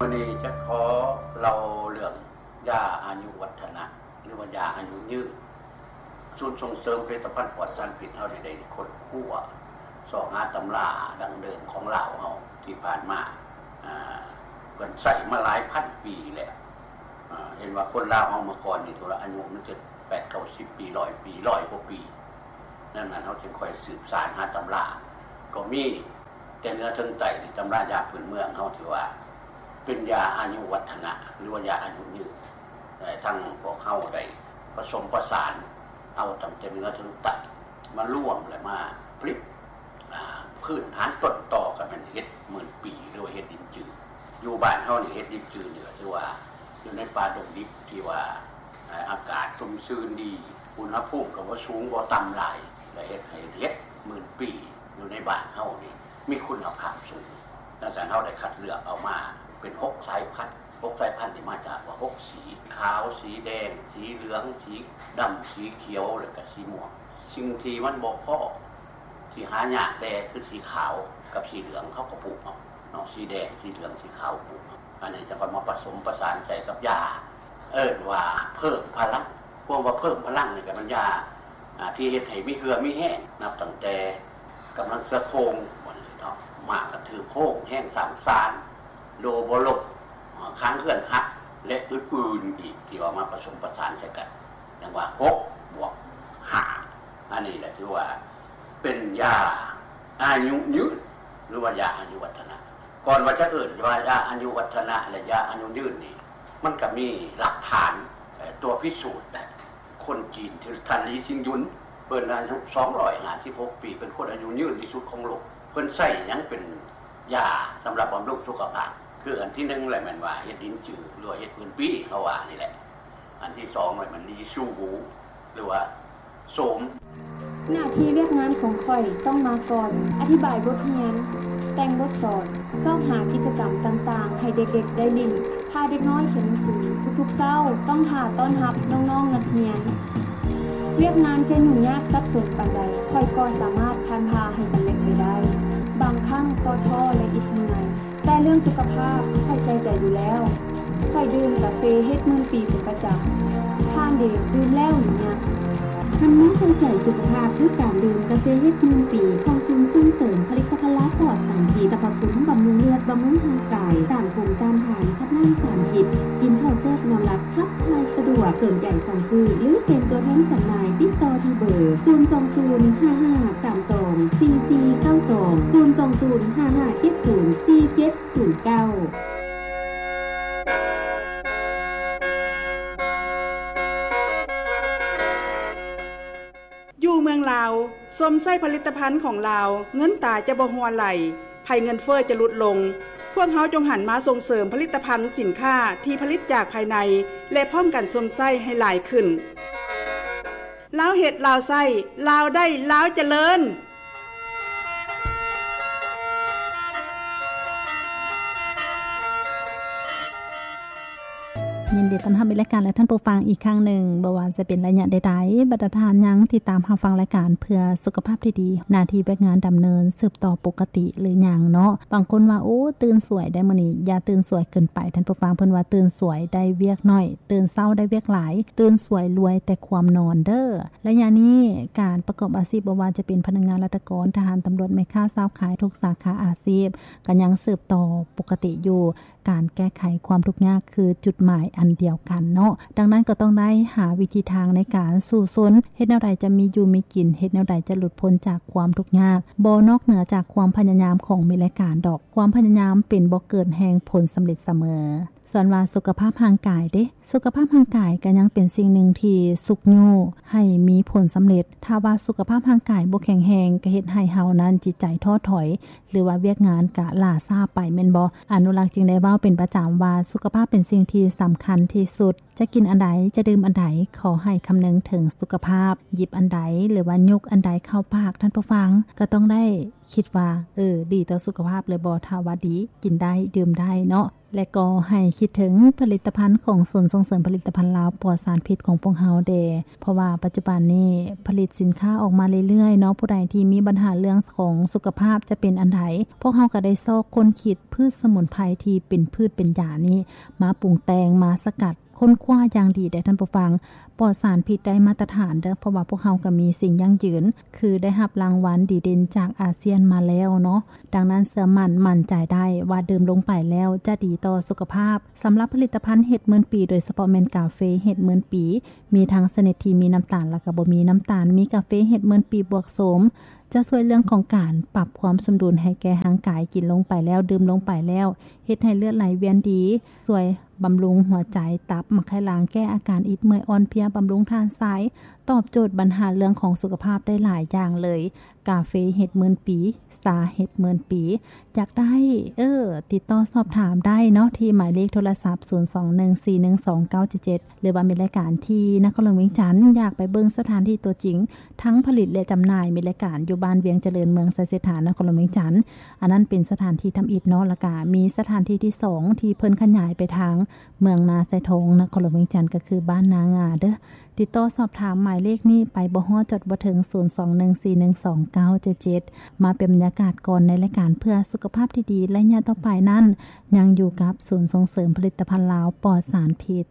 ມື້ນີ້ຈະຂໍເລົ່າເລື່ອງຢາອາຍຸວັດທະນະ ຫຼືວ່າຢາອາຍຸຍືນ. ສູນສົ່ງເສີມຜະລິດຕະພັນປອດສານພິດເຮົານີ້ໄດ້ຄົ້ນຄວ້າຊອກຫາຕຳລາດັ້ງເດີມຂອງລາວເຮົາທີ່ຜ່ານມາ ອາ ເພິ່ນໃຊ້ມາຫຼາຍພັນປີແລ້ວ. ອາ ເຫັນວ່າຄົນລາວເຮົາເມື່ອກ່ອນນີ້ ຖືວ່າອາຍຸມັນຈະແປດເກົ້າສິບປີ ຮ້ອຍປີ ຮ້ອຍກວ່າປີ. ດັ່ງນັ້ນເຮົາຈຶ່ງຄ່ອຍສືບສານຫາຕຳລາ ກໍມີ ແຕ່ເໜືອເຖິງໃຕ້ ທີ່ຕຳລາຢາພື້ນເມືອງເຮົາ ຖືວ່າເປັນຢາອາຍຸວັດທະນະ ຫຼືວ່າຢາອາຍຸຍືນ. ແລະ ທັງພວກເຮົາໄດ້ປະສົມປະສານເອົາຕັ້ງແຕ່ເໜືອເຖິງໃຕ້ມາລວມ ແລະ ມາຜະລິດ ອາ ພື້ນຖານຕົ້ນຕໍກໍແມ່ນເຫັດໝື່ນປີ ຫຼືວ່າເຫັດລິນຈື. ຢູ່ບ້ານເຮົານີ້ ເຫັດລິນຈືນີ້ກໍຖືວ່າຢູ່ໃນປ່າດົງດິບທີ່ວ່າ ອາ ອາກາດຊຸ່ມຊື່ນດີ ອຸນຫະພູມກໍບໍ່ສູງບໍ່ຕ່ຳຫຼາຍ ແລະ ເຮັດໃຫ້ເຫັດໝື່ນປີຢູ່ໃນບ້ານເຮົານີ້ມີຄຸນນະພາບສູງ. ດັ່ງນັ້ນເຮົາໄດ້ຄັດເລືອກເອົາມາເປັນຫົກສາຍພັນ. ຫົກສາຍພັນນີ້ມາຈາກວ່າຫົກສີ ຂາວ, ສີແດງ, ສີເຫຼືອງ, ສີດຳ, ສີຂຽວ ແລະ ກະສີມ່ວງ. ສິ່ງທີ່ມັນບໍ່ພໍ ທີ່ຫາຍາກແດ່ຄືສີຂາວກັບສີເຫຼືອງ ເຮົາກໍປູກເອົາເນາະ, ສີແດງ, ສີເຫຼືອງ, ສີຂາວ ປູກເອົາ. ອັນນີ້ຈະຄ່ອຍມາປະສົມປະສານໃສ່ກັບຢາ ເອີ້ນວ່າເພີ່ມພະລັງ. ຄວາມວ່າເພີ່ມພະລັງນີ້ກໍແມ່ນຢາ ອາ ທີ່ເຮັດໃຫ້ມີເຫື່ອມີແຮງ ນັບຕັ້ງແຕ່ກຳລັງເສືອໂຄ່ງ ວ່າຊັ້ນເນາະ, ມ້າກະຖືໂຄ້ງ, ແຮງສ້າງສານ, ໂດບໍ່ລົບ, ອາ ຄ້າງເຮືອນຫັກ ແລະ ອື່ນໆອີກ ທີ່ວ່າມາປະສົມປະສານໃສ່ກັນ. ຈັ່ງວ່າຫົກບວກຫ້າ ອັນນີ້ແຫຼະຖືວ່າເປັນຢາອາຍຸຍືນ ຫຼືວ່າຢາອາຍຸວັດທະນະ. ກ່ອນວ່າຈະເອີ້ນວ່າຢາອາຍຸວັດທະນະ ແລະ ຢາອາຍຸຍືນນີ້ ມັນກໍມີຫຼັກຖານ ເອີ ຕົວພິສູດໄດ້. ຄົນຈີນທີ່ທ່ານ ລີຊິງຍຸນ ເພິ່ນອາຍຸສອງຮ້ອຍຫ້າສິບຫົກປີ ເປັນຄົນອາຍຸຍືນທີ່ສຸດຂອງໂລກ. ເພິ່ນໃຊ້ຫຍັງເປັນຢາສຳລັບບຳລຸງສຸຂະພາບ? ຄືອັນທີໜຶ່ງແຫຼະ ແມ່ນວ່າເຫັດລິນຈື ຫຼືວ່າເຫັດໝື່ນປີ ເຮົາວ່ານີ້ແຫຼະ. ອັນທີສອງແລ້ວມັນລີຊູຫູ ຫຼືວ່າໂສມ. ໜ້າທີ່ວຽກງານຂອງຂ້ອຍຕ້ອງມາກ່ອນ, ອະທິບາຍບົດຮຽນ, ແຕ່ງບົດສອນ, ຊອກຫາກິດຈະກຳຕ່າງໆໃຫ້ເດັກໆໄດ້ຫຼິ້ນ, ພາເດັກນ້ອຍຂຽນໜັງສື. ທຸກໆເຊົ້າຕ້ອງຖ້າຕ້ອນຮັບນ້ອງໆນັກຮຽນ. ວຽກງານຈະຫຍຸ້ງຍາກສັບສົນປານໃດ, ຂ້ອຍກໍສາມາດຜ່ານຜ່າໃຫ້ສຳເລັດໄປໄດ້. ບາງຄັ້ງກໍທໍ້ ແລະ ອິດເມື່ອຍ. ແຕ່ເລື່ອງສຸຂະພາບຂ້ອຍໃສ່ໃຈຢູ່ແລ້ວ. ຂ້ອຍດື່ມກາເຟເຫັດໝື່ນປີເປັນປະຈຳ. ທ່ານເດ ດື່ມແລ້ວຫຼືຍັງ? ຄັນມາໃສ່ໃຈສຸຂະພາບ ຄືການດື່ມກາເຟເຫັດໝື່ນປີ ຂອງສູນສົ່ງເສີມຜະລິດຕະພັນລາວປອດສານພິດ, ສັບພະຄຸນບຳລຸງເລືອດ, ບຳລຸງຮ່າງກາຍ, ຕ້ານພູມຕ້ານທານ, ຂັບລ້າງສານພິດ, ກິນເຂົ້າແຊບ, ນອນຫຼັບ, ຂັບຖ່າຍສະດວກ. ສົນໃຈສັ່ງຊື້ ຫຼື ເປັນຕົວແທນຈຳໜ່າຍ ຕິດຕໍ່ທີ່ເບີ ສູນສອງສູນ ຫ້າຫ້າສາມສອງ ສີ່ສີ່ເກົ້າສອງ ສູນສອງສູນ ຫ້າຫ້າເຈັດສູນ ສີ່ເຈັດສູນເກົ້າ. ຢູ່ເມືອງລາວ, ຊົມໃຊ້ຜະລິດຕະພັນຂອງລາວ, ເງິນຕາຈະບໍ່ຮົ່ວໄຫຼ, ໄພເງິນເຟີ້ຈະຫຼຸດລົງ. ພວກເຮົາຈົ່ງຫັນມາສົ່ງເສີມຜະລິດຕະພັນສິນຄ້າທີ່ຜະລິດຈາກພາຍໃນ ແລະ ພ້ອມກັນຊົມໃຊ້ໃຫ້ຫຼາຍຂຶ້ນ. ລາວເຮັດ ລາວໃຊ້, ລາວໄດ້ ລາວຈະເລີນ. ຍິນດີຕ້ອນຮັບໃນລາຍການ ແລະ ທ່ານຜູ້ຟັງອີກຄັ້ງໜຶ່ງ. ບໍ່ວ່າຈະເປັນໄລຍະໃດໆ, ບັນດາທ່ານຍັງຕິດຕາມຮັບຟັງລາຍການເພື່ອສຸຂະພາບທີ່ດີ, ໜ້າທີ່ວຽກງານດຳເນີນສືບຕໍ່ປົກກະຕິຫຼືຍັງເນາະ? ບາງຄົນວ່າ ໂອ້ ຕື່ນສວຍໄດ໋ມື້ນີ້. ຢ່າຕື່ນສວຍເກີນໄປ, ທ່ານຜູ້ຟັງ. ເພິ່ນວ່າ ຕື່ນສວຍໄດ້ວຽກໜ້ອຍ, ຕື່ນເຊົ້າໄດ້ວຽກຫຼາຍ, ຕື່ນສວຍລວຍແຕ່ຄວາມນອນເດີ້. ໄລຍະນີ້ ການປະກອບອາຊີບ ບໍ່ວ່າຈະເປັນພະນັກງານລັດຖະກອນ, ທະຫານ, ຕຳຫຼວດ, ແມ່ຄ້າ, ຊາວຂາຍ, ທຸກສາຂາອາຊີບ ກໍຍັງສືບຕໍ່ປົກກະຕິຢູ່. ການແກ້ໄຂຄວາມທຸກຍາກຄືຈຸດໝາຍອັນດຽວກັນເນາະ. ດັ່ງນັ້ນກໍຕ້ອງໄດ້ຫາວິທີທາງໃນການສູ້ຊົນ, ເຮັດແນວໃດຈະມີຢູ່ມີກິນ, ເຮັດແນວໃດຈະຫຼຸດພົ້ນຈາກຄວາມທຸກຍາກ. ບໍ່ນອກເໜືອຈາກຄວາມພະຍາຍາມຂອງມິດລາຍການດອກ. ຄວາມພະຍາຍາມເປັນບໍ່ເກີນແຫ່ງຜົນສຳເລັດສະເໝີ. ສ່ວນວ່າສຸຂະພາບຮ່າງກາຍເດ? ສຸຂະພາບຮ່າງກາຍກໍຍັງເປັນສິ່ງໜຶ່ງທີ່ຊຸກຍູ້ໃຫ້ມີຜົນສຳເລັດ. ຖ້າວ່າສຸຂະພາບຮ່າງກາຍບໍ່ແຂງແຮງ, ກໍເຮັດໃຫ້ເຮົານັ້ນຈິດໃຈທໍ້ຖອຍ, ຫຼືວ່າວຽກງານກະຫຼ້າຊ້າໄປແມ່ນບໍ່? ອະນຸລັກຈຶ່ງໄດ້ເວົ້າເປັນປະຈຳວ່າ ສຸຂະພາບເປັນສິ່ງທີ່ສຳຄັນທີ່ສຸດ. ຈະກິນອັນໃດ ຈະດື່ມອັນໃດ ຂໍໃຫ້ຄຳນຶງເຖິງສຸຂະພາບ. ຫຍິບອັນໃດ ຫຼືວ່າຍົກອັນໃດເຂົ້າປາກ ທ່ານຜູ້ຟັງ ກໍຕ້ອງໄດ້ຄິດວ່າ ເອີ ດີຕໍ່ສຸຂະພາບຫຼືບໍ່. ຖ້າວ່າດີ ກິນໄດ້ ດື່ມໄດ້ເນາະ. ແລະກໍໃຫ້ຄິດເຖິງຜະລິດຕະພັນຂອງສູນສົ່ງເສີມຜະລິດຕະພັນລາວປອດສານພິດຂອງພວກເຮົາແດ່ ເພາະວ່າປັດຈຸບັນນີ້ຜະລິດສິນຄ້າອອກມາເລື້ອຍໆເນາະ. ຜູ້ໃດທີ່ມີບັນຫາເລື່ອງຂອງສຸຂະພາບຈະເປັນອັນໃດ ພວກເຮົາກໍໄດ້ຊອກຄົ້ນຄິດພືດສະໝຸນໄພທີ່ເປັນພືດເປັນຢານີ້ ມາປຸງແຕ່ງ ມາສະກັດ ຄົ້ນຄວ້າຢ່າງດີເດ້ທ່ານຜູ້ຟັງ. ປອດສານພິດໄດ້ມາດຕະຖານເດີ້ ເພາະວ່າພວກເຮົາກໍມີສິ່ງຢັ້ງຢືນ ຄືໄດ້ຮັບລາງວັນດີເດັ່ນຈາກອາຊຽນມາແລ້ວເນາະ. ດັ່ງນັ້ນເຊື່ອໝັ້ນ ໝັ້ນໃຈໄດ້ວ່າດື່ມລົງໄປແລ້ວຈະດີຕໍ່ສຸຂະພາບ. ສຳລັບຜະລິດຕະພັນເຫັດໝື່ນປີ ໂດຍສະເພາະແມ່ນກາເຟເຫັດໝື່ນປີ ມີທັງຊະນິດທີ່ມີນ້ຳຕານ ແລະກໍບໍ່ມີນ້ຳຕານ. ມີກາເຟເຫັດໝື່ນປີບວກໂສມ ຈະຊ່ວຍເລື່ອງຂອງການປັບຄວາມສົມດຸນໃຫ້ແກ່ຮ່າງກາຍ. ກິນລົງໄປແລ້ວ ດື່ມລົງໄປແລ້ວ ເຮັດໃຫ້ເລືອດໄຫຼວຽນດີ, ຊ່ວຍບຳລຸງຫົວໃຈ, ຕັບ, ໝາກໄຂ່ຫຼັງ, ແກ້ອາການອິດເມື່ອຍອ່ອນເພຍ, ບຳລຸງທາດຊາຍ, ຕອບໂຈດບັນຫາເລື່ອງຂອງສຸຂະພາບໄດ້ຫຼາຍຢ່າງເລີຍ. ກາເຟເຫັດໝື່ນປີ, ຊາເຫັດໝື່ນປີ. ຢາກໄດ້ ເອີ ຕິດຕໍ່ສອບຖາມໄດ້ເນາະ ທີ່ໝາຍເລກໂທລະສັບ ສູນສອງໜຶ່ງສີ່ໜຶ່ງສອງເກົ້າເຈັດເຈັດ ຫຼືວ່າມີລາຍການທີ່ນະຄອນຫຼວງວຽງຈັນ ຢາກໄປເບິ່ງສະຖານທີ່ຕົວຈິງ ທັງຜະລິດ ແລະ ຈຳໜ່າຍ ມີລາຍການຢູ່ບ້ານວຽງຈະເລີນ ເມືອງໄຊເສດຖາ ນະຄອນຫຼວງວຽງຈັນ. ອັນນັ້ນເປັນສະຖານທີ່ທຳອິດເນາະ. ແລ້ວກະມີສະຖານທີ່ທີສອງ ທີ່ເພິ່ນຂະຫຍາຍໄປທາງເມືອງນາຊາຍທອງ ນະຄອນຫຼວງວຽງຈັນ ກໍຄືບ້ານນາງາເດີ້. ຕິດຕໍ່ສອບຖາມໝາຍເລກນີ້ໄປບໍ່ຮອດ ຈອດບໍ່ເຖິງ ສູນສອງໜຶ່ງສີ່ໜຶ່ງສອງເກົ້າເຈັດເຈັດ. ມາເປັນບັນຍາກາດກ່ອນໃນລາຍການເພື່ອສຸຂະພາບທີ່ດີໄລຍະຕໍ່ໄປນັ້ນ ຍັງຢູ່ກັບສູນສົ່ງເສີມຜະລິດຕະພັນລາວປອດສານພິດ.